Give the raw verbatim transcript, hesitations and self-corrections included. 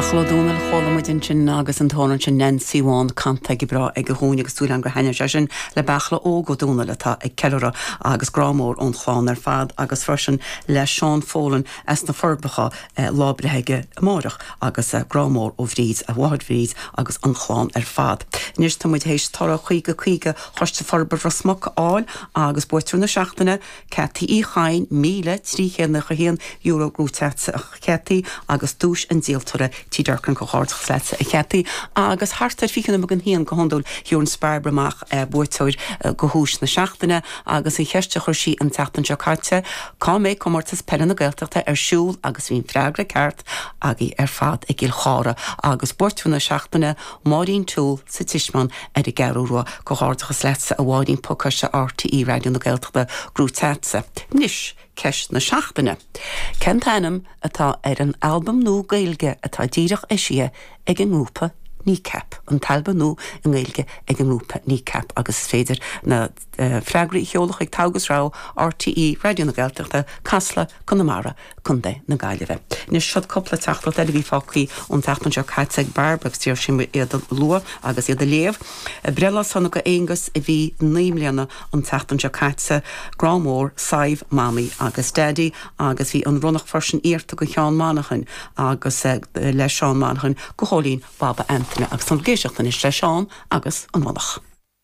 Beachla Ó Dónaill chuala muid ansin agus an t-amhrán sin Nancy Bhán canta go breá aige dhúinn agus súil agam gur thaitnigh sé sin le Beachla Óg Ó Dónaill atá ag ceiliúradh agus grá mór ón chlann ar fad agus freisin le Seán Fólan as na Forbacha eh, lá breithe aige amárach agus eh, grá mór ó Bhríd a mháthair Bhríd agus an chlann ar fad. Anois tá muid théis toradh caoga caoga Choiste Forbartha Ros Muc a fháil agus buaiteoir na seachtaine Cathy Uí Chain míle trí chéad nócha haon euro gnóthaithe a Chathy agus duais an díoltóra Tí Durcan comhghairdeachas leatsa a Chathy agus thart ar fiche nóiméad don haon go hiondúil gheobhann Bairbre amach eh, buaiteoir eh, go dhuais na seachtaine agus an cheist a chuir sí an tseachtain seo caite cá mbeidh comórtas peile na Gaeltachta ar siúl agus bhí an freagra ceart agaibh ar fad i gCill Chartha agus buaiteoir na seachtaine Máirín Toole sa Tismeán ar an gCeathrú Rua comhghairdeachas leatsa a Mháirín pacáiste RTÉ Raidió na Gaeltachta gnóthaithe agatsa. Anois ceist na seachtaine. Cén t-ainm atá ar an albam nua Gaeilge atá díreach eisithe ag an ngrúpa Kneecap an t-albam nua i nGaeilge ag an ngrúpa Kneecap agus is féidir na uh, freagraí a sheoladh chuig Togha is Rogha RTÉ Raidió na Gaeltachta Casla Conamara Contae na Gaillimhe. Anois seo cúpla teachtaireacht eile bhí fágtha ón tseachtain seo caite ag Bairbre agus d'iarr sí iad a lua agus iad a léamh. Breithlá sona go Aonghus a bhí naoi mbliana an tseachtain seo caite grá mór Sadhbh Mamaí agus Daddy agus bhí an ronnach freisin iarrtha go Sheán Monaghan agus uh, le Seán Monaghan go Chóilín Baba Antaine agus an géiseachtain is le Seán agus an ronnach.